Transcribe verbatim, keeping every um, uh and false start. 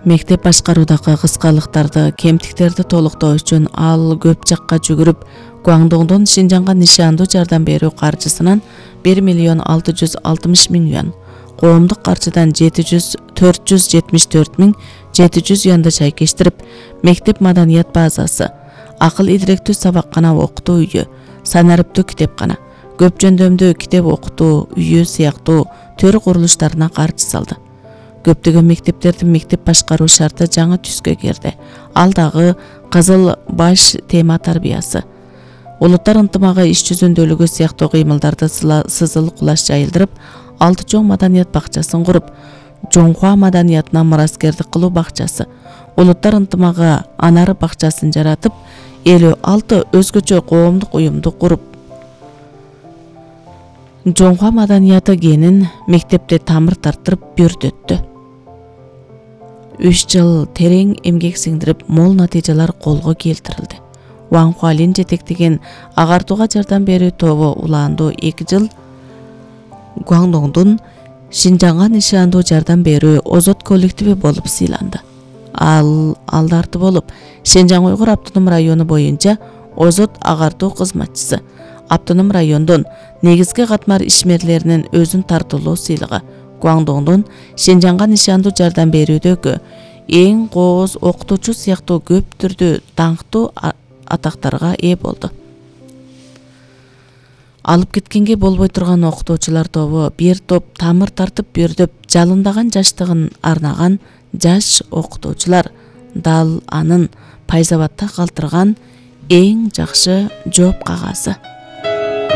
Мектеп башкаруудагы кыскалыктарды, кемтиктерди толуктоо үчүн ал көп жакка жүгүрүп, Гуандоңдун Шинжаңга нишандуу жардам берүү каржысынан бир миллион алты жүз алтымыш миң юан, коомдук каржыдан төрт жүз жетимиш төрт миң жети жүз юанды чайкештирип, мектеп маданият базасы, акыл идиректүү сабаккана окутуу үйү, санариптүү китепкана, көп жөндөмдүү китеп окутуу үйү сыяктуу төр курулуштарына каржы салды. Көптөгөн мектептердин мектеп башкаруу шарты жаңы түскө кирди. Ал дагы Кызыл баш тема тарбиясы. Улуттар ынтымагы иш жүзүндөлүгү сыяктуу кыймылдарды сызыл кулаш жайылдырып, алты чоң маданият бакчасын куруп, Жоңхуа маданиятына мураскердик кылуу бакчасы, улуттар ынтымагы анар бакчасын жаратып, элүү алты өзгөчө коомдук уюмду куруп, Жоңхуа маданияты генин мектепте тамыр тартырып бүрдөттү. үч жыл терең эмгек сиңдирип, мол натыйжалар колго келтирилди. Ван Хуалин жетектеген агартууга жардам берүү тобу улаандуу эки жыл Гуандоңдун Шинжаңга нишандуу жардам берүү озот коллективи болуп сыйланды. Ал алдарты болуп, Шинжаң уйгур автоном району боюнча озот агартуу кызматчысы, автоном райондун негизги катмар ишмерлеринин өзүн тартуулоо сыйлыгы, Гуандоңдун Шинжаңга нишандуу жардам берүүдөгү эң кооз окутуучу сыяктуу көп түрдүү даңктуу атактарга ээ болду. Алып кеткенге болбой турган окутуучулар тобу бир топ тамыр тартып бүрдөп, жалындаган жаштыгын арнаган жаш окутуучулар дал анын Пайзабадда калтырган эң жакшы жооп кагазы.